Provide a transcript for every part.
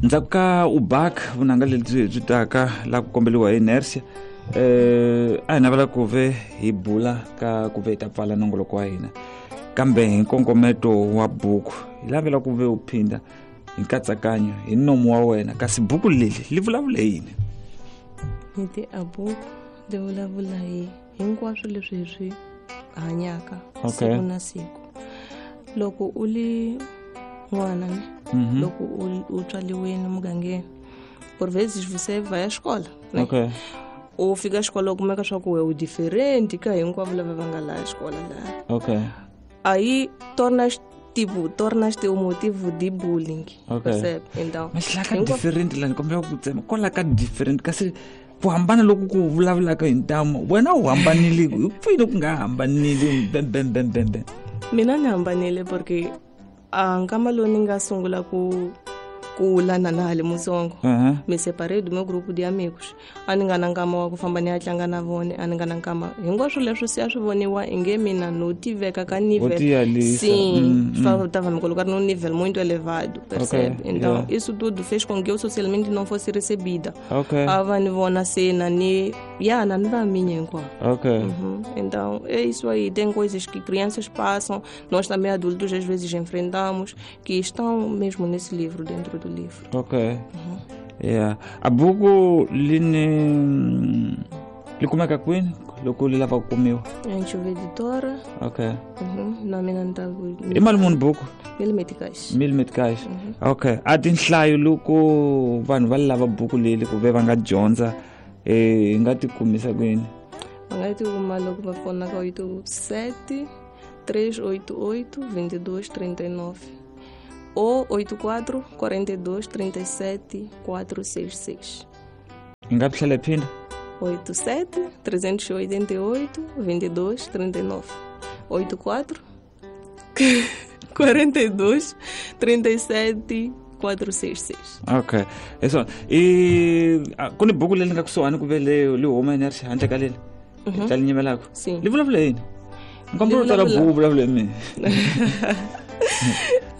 Ndzhaku ka ubak vunanga lebyi byi taka la ku kombeliwa hi Inertia, a hi navela ku ve hi bula ka ku ve hi ta pfala nongoloko wa hina, kambe hi nkongometo wa buku hi lavela ku ve u phinda hi nkatsakanyo hi nomu wa wena, kasi buku leli li vulavula yini? Ni ti a buku li vulavula hi hinkwaswo leswi hi swi hanyaka siku na siku. Loko u li n'wana ne, loko u tswaliweni mugangeni, por vezes você vai à escola, né? U fika xikolo u kumeka swa ku we u different ka hinkwavo lava va nga laha xikolo laha. Aí tornas, tipo, tornas-te o motivo de bullying. Percebe? Então, Mas la ka different la ni kombela ku tsema kwala ka different, kasi ku hambana loku ku vulavulaka hi ntamu, wena u hambanile hi pfini ku nga hambanile bem bem bem bem bem? Mina ni hambanile porque a nkama lowu ni nga sungula ku kula na na ha le mutsongo, me separei do meu grupo de amigos. A ni nga na nkama wa ku famba ni ya tlanga na vona, a ni nga na nkama. Hinkwaswo leswi se a swi voniwa inge mina no tiveka ka nível. Vou te alisa. Sim, tava me colocar num nível muito elevado, percebe? Então, isso tudo fez com que eu socialmente não fosse recebida. A va ni vona se na ni ya na ni va minha hinkwavo. Então, é isso aí. Tem coisas que crianças passam, nós também adultos às vezes enfrentamos, que estão mesmo nesse livro, dentro do livro. Yeah. A buku li ni li kumeka kwini loko li lava ku kumiwa? Anchova Editora. Na mina ni ta ku I mali muni buku? Mil meticais. Mil meticais. Okay. A tinhlayo loko vanhu va lava buku leyi ku ve va nga dyondza, hi nga ti kumisa kwini? Va nga ti kuma loko va fona ka 87 388 22 39 ou 84 42 37 466. Hi nga tlhela hi phinda? 87 388 22 39. 84 42 37 466. Okay. Hi swona. I ku ni buku leri nga kusuhani ku ve li huma Inertia handle ka leli? Ta li nyimelaka? Sim. Li vulavula yini? Nkombela u tsala buku vulavula hi mina.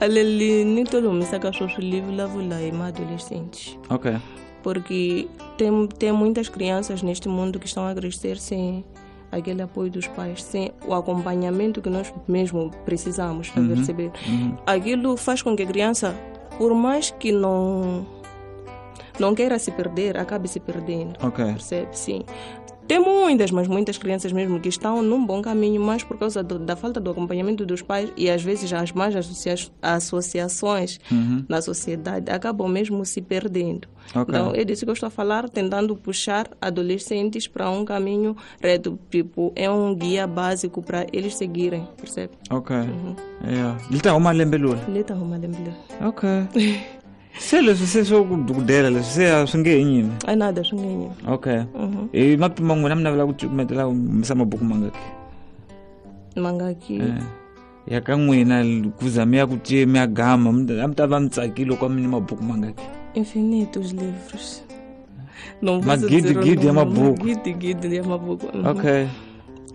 Leli ni to li humisaka sweswi li vulavula hi ma-adolescentes. Porque tem muitas crianças neste mundo que estão a crescer sem aquele apoio dos pais, sem o acompanhamento que nós mesmo precisamos para perceber. Aquilo faz com que a criança, por mais que não queira se perder, acabe se perdendo. Percebe? Sim. Tem muitas, mas muitas crianças mesmo que estão num bom caminho, mas por causa da falta do acompanhamento dos pais e às vezes as más associações na sociedade acabam mesmo se perdendo. Então, é disso que eu estou a falar, tentando puxar adolescentes para um caminho reto, é um guia básico para eles seguirem, percebe? Yeah. Ele tá arrumando lembelula? Ele tá arrumando lembelula. Se leswi se swo ku dukudela leswi se a swi nge he nyimi? A nada, swi nge he nyimi. Hi mapima n'wina mi navela ku cukumetela humesa mabuku mangaki? Mangaki? Ya ka n'wina ku za mi ya ku ce mi ya gama, a mi ta va mi tsakile loko mi ni mabuku mangaki? Infinitos livros. Não vou Magidi, dizer o gidi ya nome. mabuku. Magidi, gidi ya mabuku.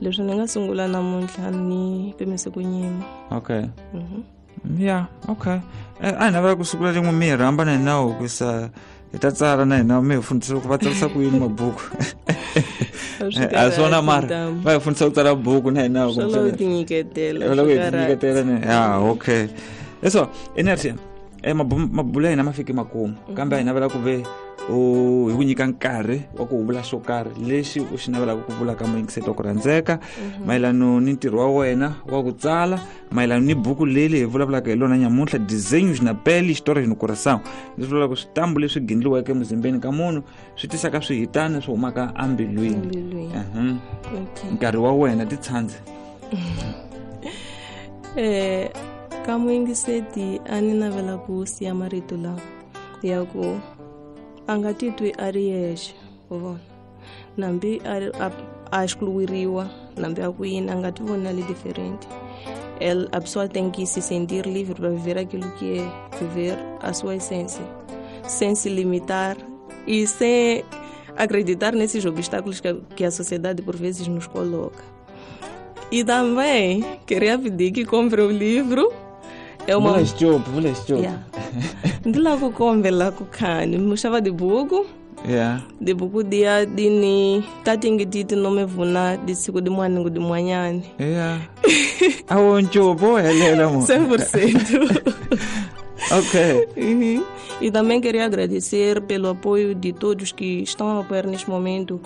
Leswi ni nga sungula namuntlha ni pimise ku nyima. Yeah, okay. A hi navela ku sungula rin'we mi hi rhamba na hina ku sa hi ta tsala na hina mi hi fundisa ku va tsarisa ku yini mabuku. A swona mara va hi fundisa ku tsala buku na hina ku Swi lava ku tinyiketela, Swi lava ku swi karhata. tinyiketela ni. Yeah, okay. Eso, Inertia, mabulo ya hina ma fike makumu, kambe a hi navela ku ve u hi ku nyika nkarhi wa ku vula xo karhi lexi u xi navelaka ku vula ka muyingiseti wa ku rhandzeka mayelano ni ntirho wa wena wa ku tsala, mayelano ni buku leyi hi vulavulaka hi lona nyamuntlha, Desenhos na Pele, Histórias no Coração. Leswi vulaka switambu leswi gindliweke emuzimbeni ka munhu swi tisaka swihitana swi humaka embilwini. Embilwini. Nkarhi wa wena ti tshandze. Ka muyingiseti a ni navela ku siya marito lawa ya ku a nga titwi a ri yexe, u vona, nambi a excluiriwa, nambi a ku yini, a nga ti voni a li diferente. El, a pessoa tem que se sentir livre para viver aquilo que é, viver a sua essência, sem se limitar e sem acreditar nesses obstáculos que a sociedade por vezes nos coloca. E também queria pedir que compre o livro. É uma Vula xitshopo, vula xitshopo. Yeah. Ndi lava ku kombela ku khani muxava dibuku. Yeah. Dibuku dia dini tatingititi nomevuna disiku dimwaningu dimwanyani. Yeah. Awo ntshopo helela mo. 100%. Ok. Uhum. E também queria agradecer pelo apoio de todos que estão a me apoiar neste momento.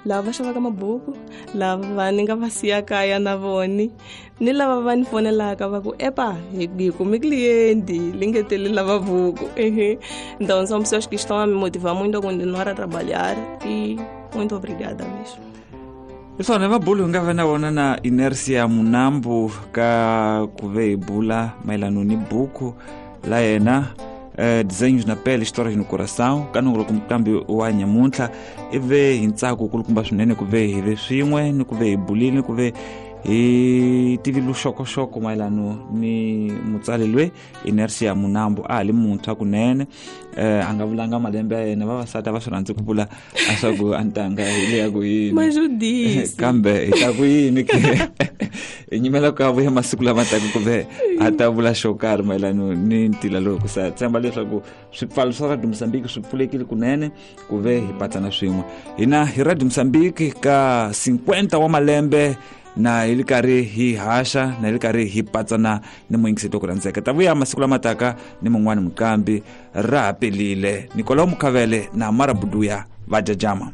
Lava xavaka mabuku, lava ni nga va siya kaya na voni, ni lava va ni fonelaka va ku epa, hi kume cliente, lingetele lava buku. Uhum. Então são pessoas que estão a me motivar muito a continuar a trabalhar e muito obrigada mesmo. Hi swona mabulu hi nga va na wona na Inercia Munambu ka ku ve hi bula mayelano ni buku la yena Desenhos na Pele, Histórias no Coração, ka nongoloko muqambi wa nyamuntlha. I ve hi ntsako kulukumba swinene ku ve hi ve swin'we ni ku ve hi bulile ni ku ve hi tivi luxokoxoko mayelano ni mutsali loyi Inercia Munambu. A ha li muntshwa kunene, a nga vulanga malembe ya yena. Vavasati a va swi rhandzi ku vula a swa ku a ntanga hi le ya ku yini. Mas eu disse. Kambe hi ta ku yini ke hi nyimela ku a vuya masiku lama taka ku ve a ta vula xo karhi mayelano ni ntila lowu, ku sa tshemba leswaku swipfalo swa Radio Mozambique swi pfulekile kunene ku ve hi patsana swin'we. Hina hi Radio Mozambique ka 50 wa malembe na hi li karhi hi haxa na hi li karhi hi patsana ni muyingiseti ku rhandzeka. Ta vuya masiku lama taka ni mun'wani muqambi ra ha pelile. Nicolau Mukhavele na Mara Buduya va jajama.